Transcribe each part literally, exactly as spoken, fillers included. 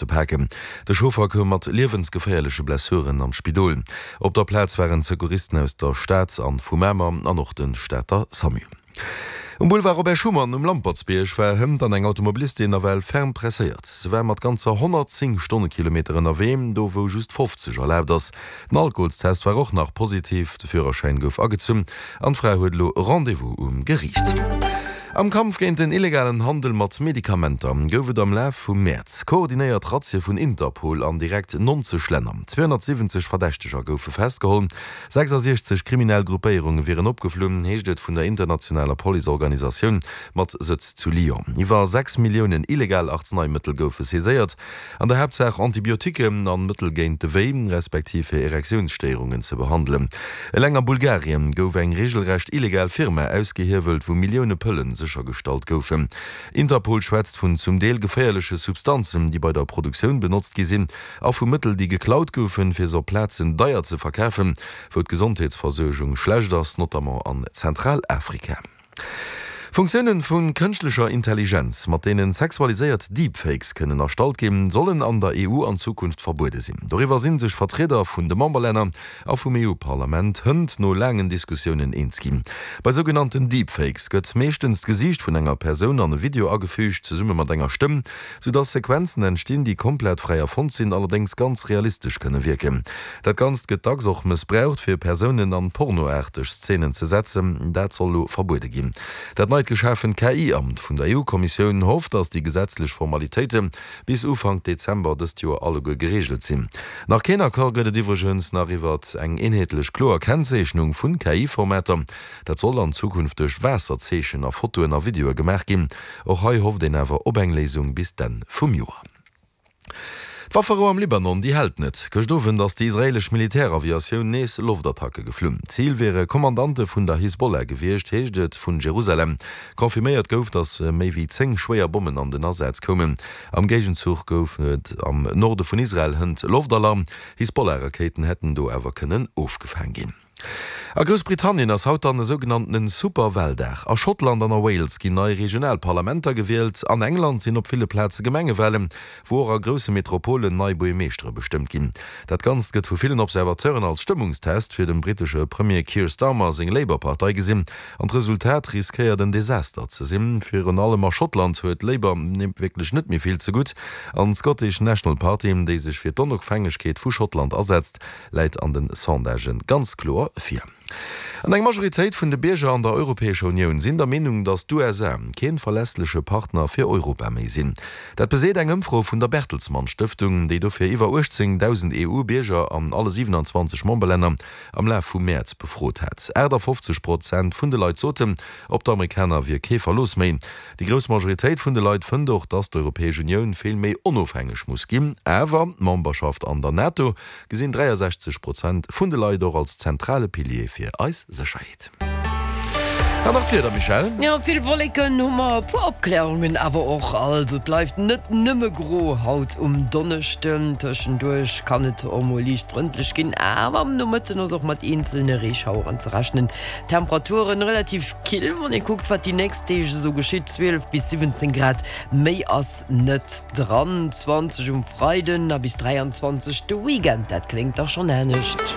ze paken. De Chauffer koum mat liewensgeféierleche Blessuren an d'Spidol. Op der Plaz waren Secouristen aus der Stad an vu Mamer an och de Stater Samu. Um Boulevard Robert Schuman um Lampertsbierg war hënt dann eng Automobilistin nawell ferm presséiert. Se war mat ganzer honnertzéng Stonnekilometer ënnerwee, do wou just fofzeg erlaabt ass. Den Alkoholstest war och nach positiv, de Führerschäin gouf agezunn an d'Fra huet elo Rendez-vous um Geriicht. Am Kampf géint den illegalen Handel mat Medikamenter gouf et am Laf vum Mäerz koordinéiert Razzie vun Interpol an direkt nonzeg Länner. Zweehonnertsiwwenzeg Verdächteger goufe festgeholl, sechsasiechzeg kriminell Gruppéierunge wieren opgeflunn, heescht et vun der internationaler Policeorganisatioun mat Sëtz zu Lyon. Iwwer sechs Milliounen illegal Arzeneimëttel goufe saiséiert, an der Haaptsaach Antibiotiquen an Mëttel géint de Wéi, respektiv fir Erektiounsstéierungen ze behandelen. Eleng a Bulgarien gouf eng reegelrecht illegal Firma ausgehiewelt, wou Millioune Pëllen séchergestallt goufen. Interpol schwätzt vun zum Deel geféierleche Substanzen, déi bei der Produktioun benotzt gi sinn, a vu Mëttel, déi geklaut goufen, fir se op Plazen deier ze verkafen, wou d'Gesondheetsversuergung schlecht ass, notamment an Zentralafrika. Funktiounen vu kënschtlecher Intelligenz, mat deenen sexualiséiert Deepfakes kënnen erstallt ginn, sollen an der E U an Zukunft verbuede sinn. Doriwwer si sech Vertrieder vun de Memberlänner a vum E U-Parlament hënt no laangen Diskussiounen eens ginn. Bei sougenannten Deepfakes gëtt meeschtens d'Gesiicht vun enger Persoun an e Video agefüügt, zesumme mat enger Stëmm, soudass Sequenzen entstinn, déi komplett fräi erfonnt sinn, allerdéngs ganz realistesch kënne wierken. Dat Ganzt gëtt dacks och mëssbraucht, fir Persounen an pornoaarteg Szenen ze setzen. Dat soll elo verbuede ginn. Dat neit geschafent K I-Amt vun der E U-Kommissioun hofft, datt déi gesetzlech Formalitéite bis Ufank Dezember dëst Joer alleguer gereegelt sinn. Nach keen Accord gëtt et iwwregens nach iwwert eng eenheetlech kloer Kennzeechnung vun K I-Formater. Dat soll an Zukunft duerch Waasserzeechen a Fotoen a Videoe gemaach ginn. Och hei hofft een awer op eng Léisung bis d'Enn vum Joer. D'Wafferou am Libanon, déi hält net. Gëscht Owend ass déi israeelesch Militäraviatioun nees Loftattacke geflunn. Zil wiere Kommandante vun der Hisbollah gewiescht, heescht et vun Jerusalem. Confirméiert gouf, datt méi wéi zéng schwéier Bommen an den Asaz koumen. Am Géigenzuch gouf et am Norde vun Israel hënt Loftalarm. Hisbollah-Rakéiten hätten do awer kënnen ofgefaang ginn. A Groussbritannien ass haut dann e sougenanntene Superwaldag. A Schottland an a Wales ginn nei regional Parlamenter gewielt. An England sinn op ville Plaze Gemengewalen, wou och a grousse Metropolen nei Buergermeeschtere bestëmmt ginn. Dat Ganzt gëtt vu villen Observateuren als Stëmmungstest fir dem brittesche Premier Keir Starmer seng Labour-Partei gesinn. An d'Resultat riskéiert en Desaster ze sinn. Virun allem a Schottland huet Labour wierklech net méi vill zegutt. An d'Scottish National Party, déi sech fir d'Onofhängegkeet vu Schottland asetzt, läit an de Sondagë ganz kloer vir. An eng Majoritéit vun de Bierger an der Europäescher Unioun sinn der Meenung, datt d'U S A keen verlässleche Partner fir Europa méi sinn. Dat beseet eng Ëmfro vun der Bertelsmann Stëftung, déi dofir iwwer uechtzéngdausend E U-Bierger an alle siewenanzwanzeg Memberlänner am Laf vum Mäerz befrot hat. aachtafofzeg Prozent vun de Leit soten, op d'Amerikaner wier kee Verlooss méi. Déi grouss Majoritéit vun de Leit fënnt och, datt d'Europäesch Unioun vill méi onofhängeg muss ginn. Awer d'Memberschaft an der NATO gesinn dräiasechzeg Prozent vun de Leit och als zentrale Pilier fir eis Sécherheet. An nach d'Wieder, Michèle? Jo, vill Wolleken hu mer, e puer Opklärungen awer och. Also et bleift net nëmme gro haut um Donneschden. Tëschenduerch kann et och mol liicht frëndlech ginn, awer am Nomëtten ass och mat eenzelne Reeschaueren ze rechnen. Temperaturen relativ kill, wann ee kuckt, wat déi nächst Deeg esou geschitt, zwielef bis siwwenzéng Grad, méi ass net dran. Zwanzeg um Freiden a bis dräianzwanzeg de Weekend, dat kléngt da schonn anescht.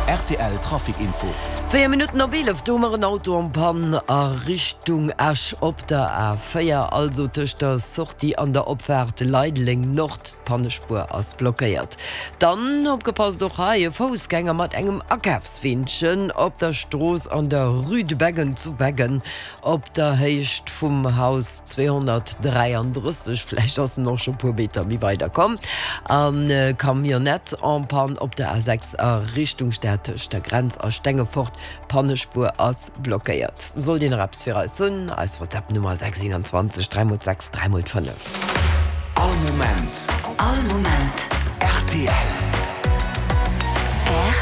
R T L Trafic Info. Véier Minutten op eelef, do hu mer en Auto en panne a Richtung Esch op der A véier, also tëscht der Sortie an der Opfaart Leideleng Nord. D'Pannespuer ass blockéiert. Dann opgepasst och hei, e Foussgänger mat engem Akafsweenchen op der Strooss an der Rue de Beggen zu Beggen op der Héicht vum Haus zweehonnertdräiandrësseg. Vläicht ass en och scho puer Meter méi weider komm. An Camionnette en panne op der A sechs a Richtung Stad tëscht der Grenz a Stengefort. D'Pannespuer ass blockéiert. Sollt Dir nach eppes fir eis hunn, eis WhatsApp-Nummer sechs eenanzwanzeg dräi mol sechs dräi mol fënnef. All Moment. All Moment. R T L. R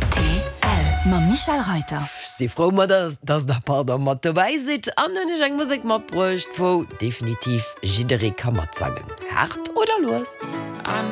T L. Mam Michèle Reiter. Si frou mat dass der pardon mat dobäi sidd an hunn ech eng Musek matbruecht, wou definitiv jidderee ka matsangen. Haart oder lues.